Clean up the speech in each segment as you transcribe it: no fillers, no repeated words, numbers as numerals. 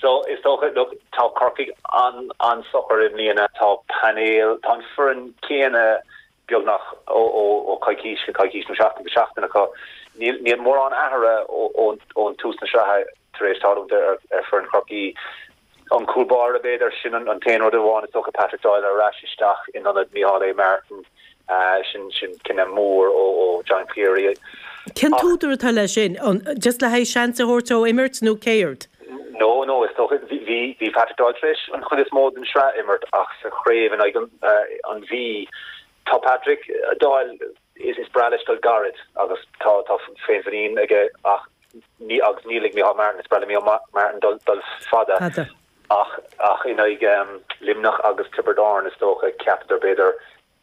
So, is dócha, look, tá Corcaigh an-socair i mbliana, tá painéal, tá an foireann céanna beagnach ó coicís go coicís nó seachtain go seachtain acu. Níl mórán athraithe ón tús na sraithe tar éis tarlúint ar foireann Chorcaí. An cúl báire, b'fhéidir, sin an t-aon rud amháin is dócha, Patrick Doyle ar ais isteach in ionad Micheál A. Martin. Sin cinneadh mór ó John Cleary. Cén t-údar atá leis sin? Just le haghaidh seans a thabhairt dó imirt nó céard? No, no, is dócha, bhí Patrick Doyle tar éis an chuid is mó den sraith a imirt ach sa chraobh in aghaidh an Mhí, tá Patrick Doyle, is breá leis dul gairid agus tá féinmhuinín aige ach ní, agus níl ag Micheál Martin, is breá le Micheál Martin dul fada ach ach in aghaidh Luimneach agus Tiobraid Árann is dócha, cheapadar b'fhéidir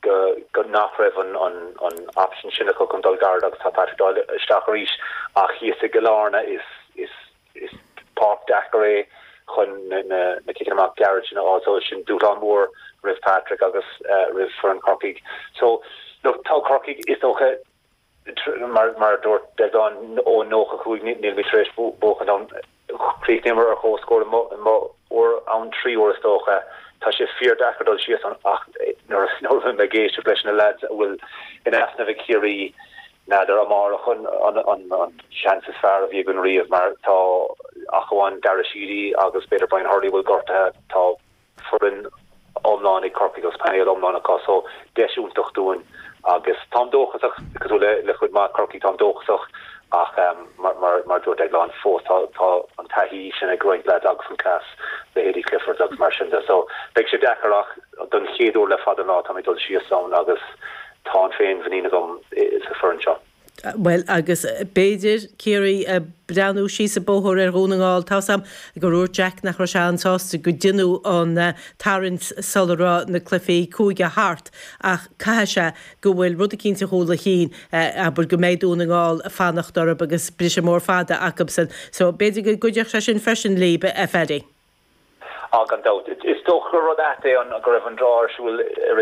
go go nach raibh an an an option sin acu chun dul gairid agus tá Patrick Doyle isteach arís ach thíos i gCill Airne is is is páirc deacair é chun na na na ciceanna amach gairid sin a fháil so sin dúshlán mór roimh Patrick agus roimh foireann Chorcaigh. So look tá Corcaigh is dócha mar mar a dúirt Deaglán ó 95 nílimid tar éis buachan ann. Chríochnaíomar ar comhscór uair ann 3 uair is dócha. Tá sé fíor-deacair dul síos ann ach nuair a bhím ag éisteacht leis na leaids a bhfuil in easnamh ag Ciarraí, n'fheadar amárach an seans is fearr a bhí againn riamh mar tá ach amháin Dara Sheedy agus b'fhéidir Brian Hurley a bhfuil gortaithe, tá foireann iomlán ag Corcaigh agus painéal iomlán acu so deis iontach dúinn agus táim dóchasach, cosúil le le cuid mhaith Corcaigh, táim dóchasach ach mar mar a dúirt Deaglán fós tá tá an taithí sin ag roinnt leaids agus an cleas, leithéidí Cliffords agus mar sin de so beidh sé deacair ach don chéad uair le fada an lá táimid ag dul síos ann agus tá an féinmhuinín agam sa foireann seo. Bhuel, agus b'fhéidir, Ciarraí ag breathnú síos an bóthar ar Dhún na nGall. Tá's a'm gur dhúirt Jack nach raibh sé an-sásta go deineadh an tarraingt sula raibh na cluichí cúige thart ach caithfidh sé go bhfuil rud eicínt i gcúl a chinn, abair, go mbeidh Dún na nGall ag fanacht orthu agus briseadh mór fada acubsan. So, b'fhéidir go gcuideodh sé sin freisin líb, a Phaddy. Á, gan dabht. Is dócha gur rud ait é an go raibh an draw ar siúl i rith na.